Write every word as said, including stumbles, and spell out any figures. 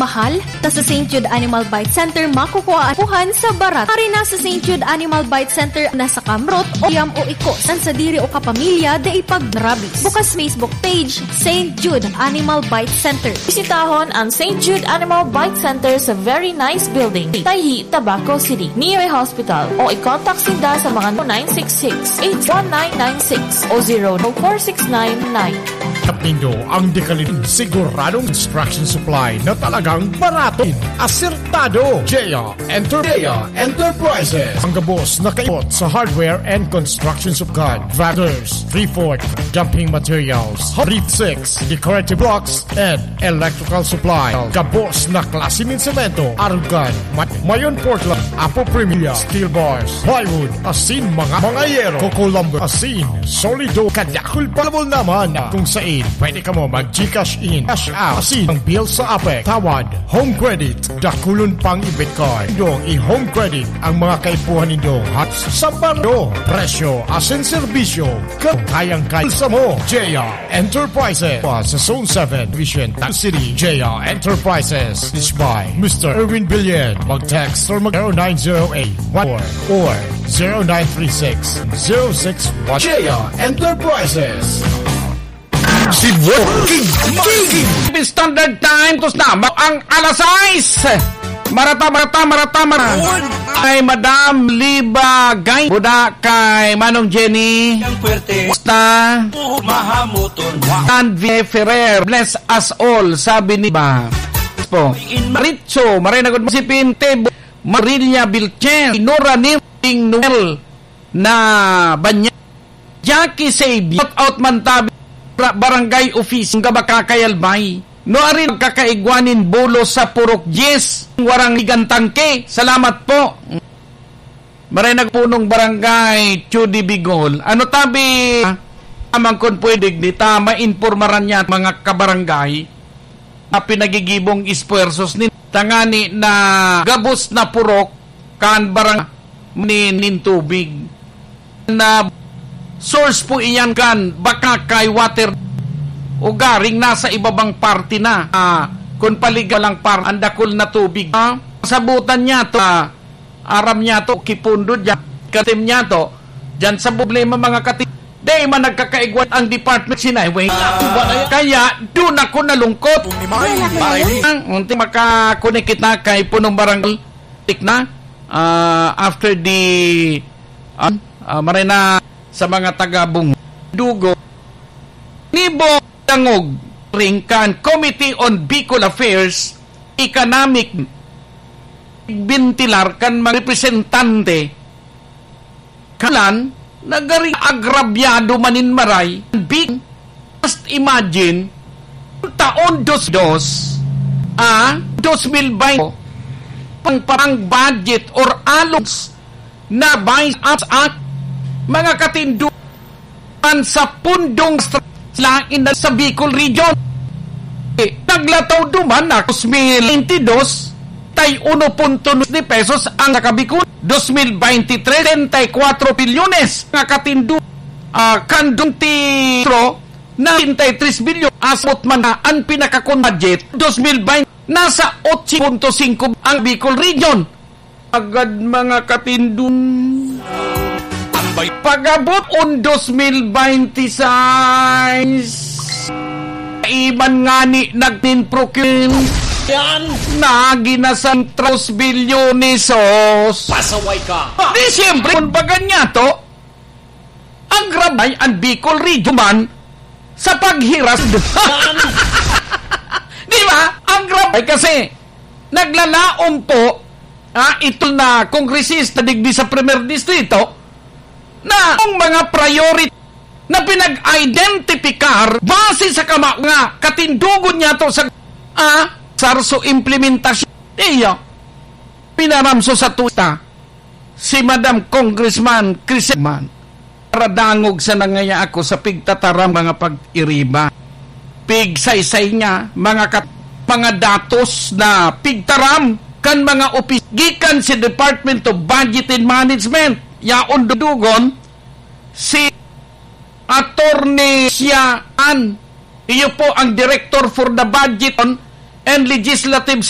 Mahal, ta sa Saint Jude Animal Bite Center makukuha ang puhan sa barat. Ari na sa Saint Jude Animal Bite Center na sa kamrot o yam o ikos. An sadiri o kapamilya, dai pag-rabies. Bukas Facebook page, Saint Jude Animal Bite Center. Bisitahon ang Saint Jude Animal Bite Center sa Very Nice Building, Taiji, Tabaco City, near hospital, o i-contact sinda sa mga nine six six, eight one nine nine six o zero four six nine nine. At nindo ang dekalidad, siguradong construction supply na talagang barato, asertado. J R Enter-, J R Enterprises. Ang gabos na kaibot sa hardware and construction supply. Tractors, three-fourth, dumping materials, reef six, decorative blocks, and electrical supply. Gabos na klase nin semento, arugan, ma-, Mayon Portland, Apo Premier, steel bars, plywood, asin mga, mga yero, coco lumber, asin solido, kadakul palabol naman, kung sain pwede kamo mag-GCash in, cash out, asin ang bill sa Apex, Tawad, Home Credit, dakulon pang i-Bitcoin. Dong i-Home Credit ang mga kaipuhan nindo at sa baryo, presyo, asin serbisyo, kayang-kaya sa mo. J R Enterprises. Pa sa Zone seven, Vision, Tac City. J R Enterprises. This by Mister Erwin Billion. Mag-text or mag zero nine zero eight one four or zero nine three six zero six one. J R Enterprises. Si Walking King. Standard Time, tos na, ma-, ang alas sais. Marata, marata, marata, marata. Ay, Madam Liba Gay. Buda kay Manong Jenny. Ang puwerte. Basta. Oo, mahamuton. Tan Ferrer. Bless us all, sabi ni ba. Po. Maritso, maray na gud si Pinte. Marilia Vilches. Nora Nim. Noel. Na Banya. Jackie Save, shout out man tabi, Barangay Office, nga Bakakay Albay. No, ari nagkakaigwa nin bulos sa Purok Diez, warang ligan tangke. Salamat po. Maray nagpunong barangay, Chudi Bigol. Ano tabi, amang kun pwede, di ta mainpormaran niya mga kabarangay na pinagigibong esfuerzos ni tangani na gabos na purok kan barang ni, nin tubig. Na source po iyan kan Bakakay Water o garing nasa ibabang parte na. Ah, kung paliga lang par-, ang dakul na tubig. Ah, sabutan niya to, ah, aram niya to, kipundo dyan, katim niya to, dyan sa problema mga kati-, di man nagkakaigwat ang department sinay. Wait, kaya doon ako nalungkot. Ang unti makakunik kita kay punong barangay tik na, ah, after the, ah, ah, maray na sa mga taga Bung-, Dugo, Nibo, Dangog, ring kan Committee on Bicol Affairs, Economic, bentilar kan mga representante, kalan, nagari agrabyado manin maray, big, just imagine, taon dos dos, ah, dos mil baynte, pang, pang budget or allows na by us at mga katinduhan sa pundong stra-, lain na sa Bicol Region. Eh, naglataw duman na dos mil baynte dos, tay uno punto nuebe de pesos ang nakabikon. Dos mil baynte tres, treinta y cuatro bilyones nga katindu-, ah, kan duntitro na treinta y tres bilyon. Asot man na ang pinakakon budget, dos mil baynte, nasa otso punto singko ang Bicol Region. Agad mga katindon. Pag-abot on dos mil baynte sais, iban ngani nagnin-procurement. Yan. Nagi na sa tres bilyones, sos. Pasaway ka. Di siyempre, kung baga niya to, ang grabay ang Bicol Region man sa paghiras. Di ba? Ang grabay kasi naglalaom po, ah, ito na kongresista digdi sa Primer Distrito na ang mga priority na pinag-identifikar base sa kama-, nga katindugon niya to sa, ah, sarso implementasyon. Iyo, pinaramso sa tuta si Madam Congressman Chris Man. Paradangog sa nangaya ako sa pigtataram mga pag-iriba. Pigsaysay niya mga kat-, mga datos na pigtaram kan mga opis gikan sa Department of Budget and Management. Yaon dudugon si Attorney Sian. Iyo po ang Director for the Budget and Legislative